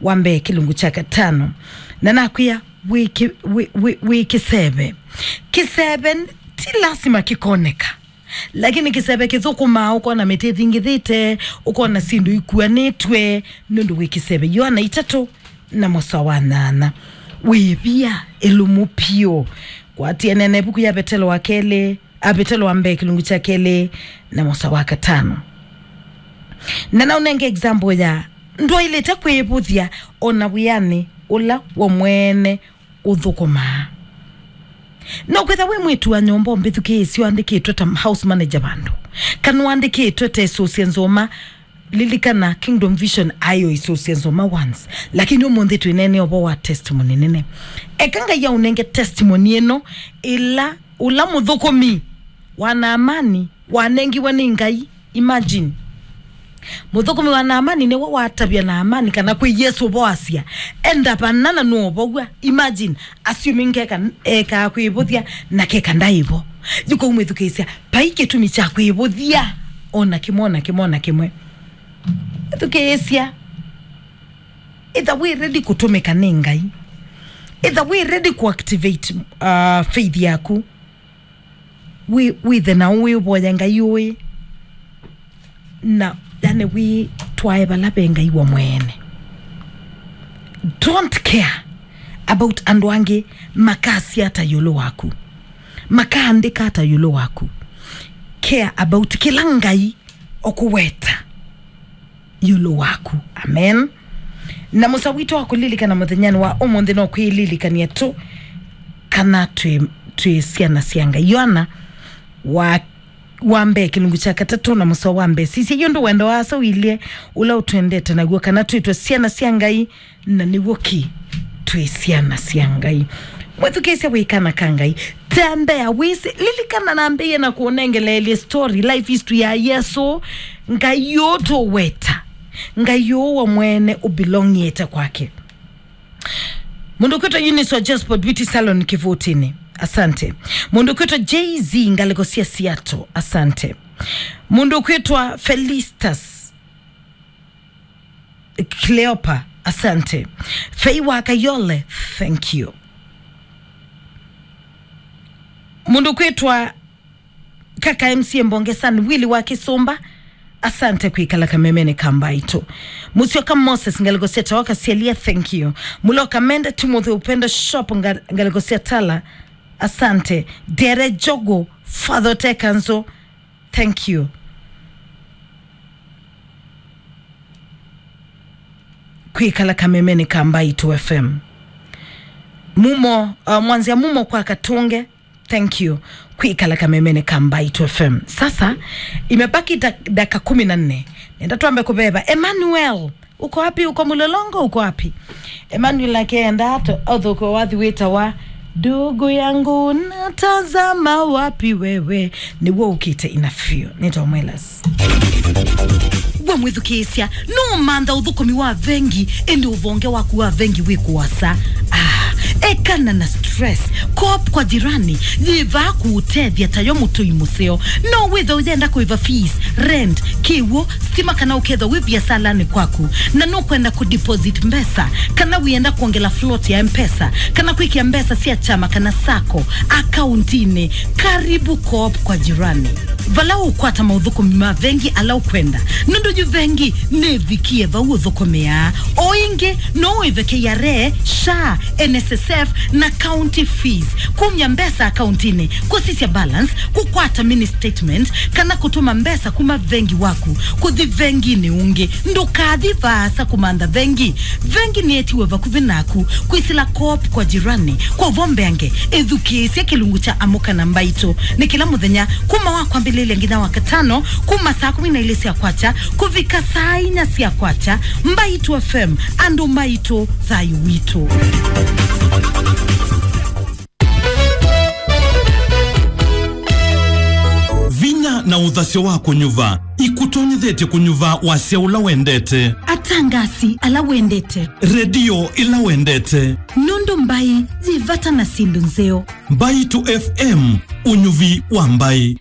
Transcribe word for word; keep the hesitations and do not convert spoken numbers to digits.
wa mbee kĩlungu kya katano. Na nakwĩa wĩ kĩ-, wĩ, wĩ, wĩ kĩseve. Kĩseve ti lasima kĩkoneka. Lakini kĩseve kĩthũkũmaa, ũkona mĩtĩ ĩthingithĩte, ũkona syĩndũ ikuanĩtwe, nũndũ wĩ kĩseve. Yoana itatũ na mũsoa wa nyanya. Wĩvia, ĩlumu piũ. Kwatianĩa na ĩvuku ya Vetelo wa kelĩ, a Vetelo wa mbee kĩlungu kya kelĩ na mũsoa wa katano. Na naũnenge example ya ndwaĩlĩte kwĩvũthya o na wĩanĩ ũla we mwene ũthũkũmaa. No kwĩtha wĩ mwĩĩtu wa nyũmba ũmbĩthukĩĩsye ũandĩkĩtwe ta house manager vandũ, kana ũandĩkĩtwe ta ĩsũsya nzũma. Lilikana Kingdom Vision aĩ o ĩsũsya nzũma once, lakini ũmũnthĩ twĩneene ũvoo wa testimony nene. Eka Ngai aũnenge testimony ĩno, ĩla ũla mũthũkũmi wa Naamani wanengiwe nĩ Ngai. Imagine. Mũthũkũmi wa Naamani nĩwe watavya Naamani kana kwĩ Yesũ ũvoo asya, "Enda vana na nũũvow'a." Imagine, assuming keka ekaa kwĩvũthya na keka ndaĩ vo. Yu kau mwĩthukĩĩsya, vai kĩtumi kya kwĩvũthya o na kĩmwe, o na kĩmwe, o na kĩmwe. Ĩthukĩĩsya. Ĩtha wĩ ready kũtũmĩka nĩ Ngai. Ĩtha wĩ ready kũactivate, uh, faith yaku. Wĩ-, wĩthe na wĩvoya Ngai ũĩ. Na, yani, wĩtwae vala ve Ngai we mwene. Don't care about andũ angĩ makasya ata ĩũlũ waku. Makaandĩka ata ĩũlũ waku. Care about kĩla Ngai ũkũweta ĩũlũ waku. Amen. Na mũsa witũ wa kũlilikana mũthenyanĩ wa ũmũnthĩ no kwĩlilikania tu kana twĩ, twĩ syana sya Ngai. Yoana wa, wa mbee kĩlungu kya katatũ na mũsa wa mbee. Sisya, yu ũndũ wendo wa Asa ũilye, ũla ũtwendete naw'o, kana twĩtwe syana sya Ngai, na nĩw'o kĩ twĩ syana sya Ngai. Mwĩthukĩĩsya, wĩ kana ka Ngai. Tembea wĩsĩ. Lilikana nambĩĩe na kũnengeleelye story, life history ya Yesũ. Ngai ũũ tũweta, Ngai ũũ we mwene ũbelongĩte kwake. Mũndũ kwĩtwa Eunice wa Joseph Beauty Salon Kĩvũtĩnĩ, asante. Mũndũ kwĩtwa Jay-Z, ngalĩko sya Seattle, asante. Mũndũ kwĩtwa Felistas Cleopa, asante. Fei wa Kayole, thank you. Mũndũ kwĩtwa Kaka M C A Mbonge San, Willy wa Kĩsũmba, asante kwĩkala kamemenĩ ka Mbaitũ. Mũsyoka Moses, ngalĩko sya Tawa Kasyalia, thank you. Mũloka Mende, Timothy Upendo Shop, nga-, ngalĩko sya Tala, asante. Dere Jogo, Father Tekanzo, thank you kwĩkala kamemenĩ ka Mbaitũ F M. Mumo, uh, mwanzia mumo kwa Katunge, thank you kwĩkala kamemenĩ ka Mbaitũ F M. Sasa, imebaki da-, dakika kumi na nne. Nenda twambe kũveva. Emmanuel, uko wapi? Uko Mlolongo? Uko wapi? Emmanuel akenda ato-, athũkwe wathi wĩtawa, "Ndugu yangu, natazama wapi wewe?" Nĩw'o ũkĩte ina few. Nĩtwa Mwelas. We mwĩthukĩĩsya, no mantha ũthũkũmi wa vengi, ĩndĩ ũvonge waku wa vengi wĩ kũasa. Ah, ekana na stress. Co-op kwa jirani yĩvaa kũũtethya tayo mũtũi mũseo. No wĩthe ũyenda kũĩva fees, rent, kĩw'ũ, stima, kana ũkethwa wĩ viasalanĩ kwaku, na nũkwenda kũdeposit mbesa, kana wĩenda kwongela float ya M-Pesa, kana kwĩkĩa mbesa sya kyama kana sacco akauntinĩ, karibu Co-op kwa jirani. Vala ũkwata maũthũkũmi ma vengi ala ũkwenda, nũndũ yu vengi nĩvikie vau ũthũkũmĩaa. O ĩngĩ, no ũĩve K R A, SHA, N S S F, na county fees, kumya mbesa akauntinĩ, kũsisya balance, kũkwata mini statement, kana kũtũma mbesa kuma vengi waku kũthi venginĩ ũngĩ. Ndũkathi vaasa kũmantha vengi. Vengi nĩetiwe vakuvĩ naku. Kwĩsĩla Co-op kwa jirani. Kwa ũvoo mbeange, ĩthukĩĩsye kĩlungu kya Amũka na Mbaitũ. Nĩ kĩla mũthenya, kuma wa kwambĩlĩlya nginya wa katano, kuma saa kũmi na ilĩ sya kwakya kũvika saa inya sya kwakya. Mbaitũ F M, andũ maitũ, thayũ witũ. Vinya na ũthasyo wa kũnyuva ikũtonyethetye kũnyuva wasya ũla wendete. Atangasi ala wendete. Redio ĩla wendete. Nũndũ mbaĩ yĩ vata na syĩndũ nzeo. Mbaitũ F M, ũnyuvi wa mbaĩ.